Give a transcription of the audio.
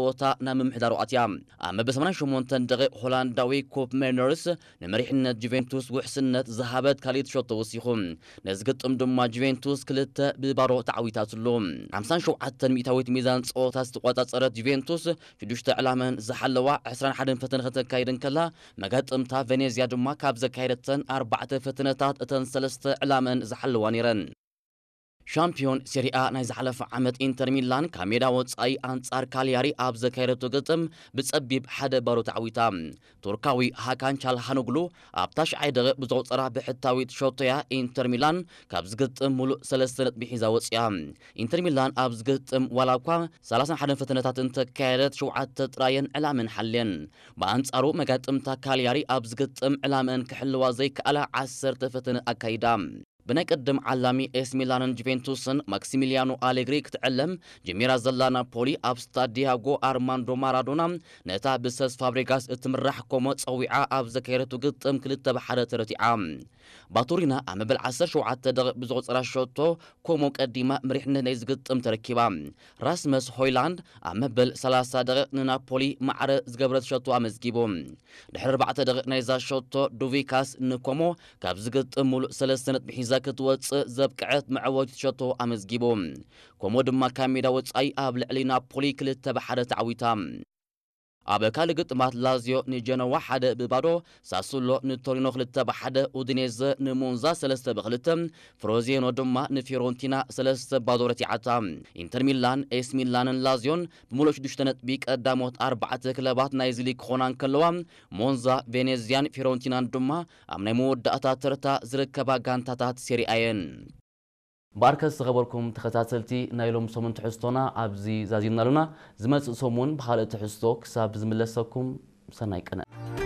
ጸወታ ናብ ምምሕዳሩ ኣትያ። ኣብ መበል ሰማንያን ሸሞንተን ደቂቕ ሆላንዳዊ ኮፕ ሜርነርስ ንመሪሕነት ጁቬንቱስ ውሕስነት ዝሃበት ካልኢት ሸቶ ወሲኹ። ነዚ ግጥም ድማ ጁቬንቱስ ክልተ ብባዶ ተዓዊታትሉ። ሓምሳን ሸውዓተን ሚእታዊት ሚዛን ጸወታ ዝተቆጻጸረት ጁቬንቱስ ሽዱሽተ ዕላመን ዝሓለዋ ዕስራን ሓደን ፈተነ ከተካይድ እንከላ፣ መጋጥምታ ቬኔዝያ ድማ ካብ ዘካየደተን ኣርባዕተ ፈተነታት እተን ሰለስተ ዕላመን ዝሓለዋ ነይረን። ሻምፒዮን ሴሪኣ ናይ ዝሓለፈ ዓመት ኢንተር ሚላን ካብ ሜዳ ወጻኢ ኣንጻር ካሊያሪ ኣብ ዘካየደቶ ግጥም ብጸቢብ ሓደ ባዶ ተዓዊታ። ቱርካዊ ሃካን ቻልሃኖግሉ ኣብ ታሽዓይ ደቂቕ ብዘቑጸራ ብሕታዊት ሸቶያ ኢንተር ሚላን ካብ ዝግጥም ሙሉእ ሰለስተ ነጥቢ ሒዛ ወጽያ። ኢንተር ሚላን ኣብ ዝግጥም ዋላ እኳ ሰላሳን ሓደን ፈተነታት እንተካየደት ሸውዓተ ጥራየን ዕላመን ሓልየን። ብኣንጻሩ መጋጥምታ ካሊያሪ ኣብ ዝግጥም ዕላመን ክሕልዋ ዘይከኣላ ዓሰርተ ፈተነ ኣካይዳ። ብናይ ቅድም ዓላሚ ኤስ ሚላንን ጁቬንቱስን ማክሲሚሊያኖ ኣሌግሪ ክትዕለም ጀሚራ ዘላ ናፖሊ ኣብ ስታዲያጎ ኣርማንዶ ማራዶና ነታ ብሰስ ፋብሪጋስ እትምራሕ ኮሞ ጸዊዓ ኣብ ዘካየደቱ ግጥም ክልተ ብሓደ ተረቲዓ። ባቱሪና ኣብ መበል ዓሰርተ ሸውዓተ ደቂቕ ብዝቑጸራ ሸቶ ኮሞ ቀዲማ መሪሕነት ናይ ዝግጥም ተረኪባ። ራስመስ ሆይላንድ ኣብ መበል ሰላሳ ደቂቕ ንናፖሊ ማዕረ ዝገብረት ሸቶ ኣመዝጊቡ። ድሕሪ ኣርባዕተ ደቂቕ ናይዛ ሸቶ ዱቪካስ ንኮሞ ካብ ዝግጥም ሙሉእ ሰለስተ ነጥቢ ሒዛ ክትወጽእ ዘብቅዐት መዕወቲት ሸቶ ኣመዝጊቡ። ኮሞ ድማ ካብ ሜዳ ወጻኢ ኣብ ልዕሊ ናፖሊ ክልተ ብሓደ ተዓዊታ። ኣብ ካልእ ግጥማት ላዚዮ ንጀነዋ ሓደ ብባዶ፣ ሳሱሎ ንቶሪኖ ክልተ ብሓደ፣ ኡዲኔዘ ንሞንዛ ሰለስተ ብክልተ፣ ፍሮዚኖ ድማ ንፊዮረንቲና ሰለስተ ባዶ ረቲዓታ። ኢንተር ሚላን፣ ኤስ ሚላንን ላዚዮን ብምሉእ ሽዱሽተ ነጥቢ ቀዳሞት ኣርባዕተ ክለባት ናይዚ ሊግ ክኾና እንከለዋ፣ ሞንዛ፣ ቬኔዝያን ፊዮረንቲናን ድማ ኣብ ናይ መወዳእታ ተርታ ዝርከባ ጋንታታት ሴሪኣ እየን። ባርከስ ዝኸበርኩም ተኸታተልቲ ናይ ሎም ሰሙን ትሕዝቶና ኣብዚ ዛዚምና ኣሉና። ዝመጽእ ሰሙን ብኻልእ ትሕዝቶ ክሳብ ዝምለሰኩም ሰናይ ቅነ።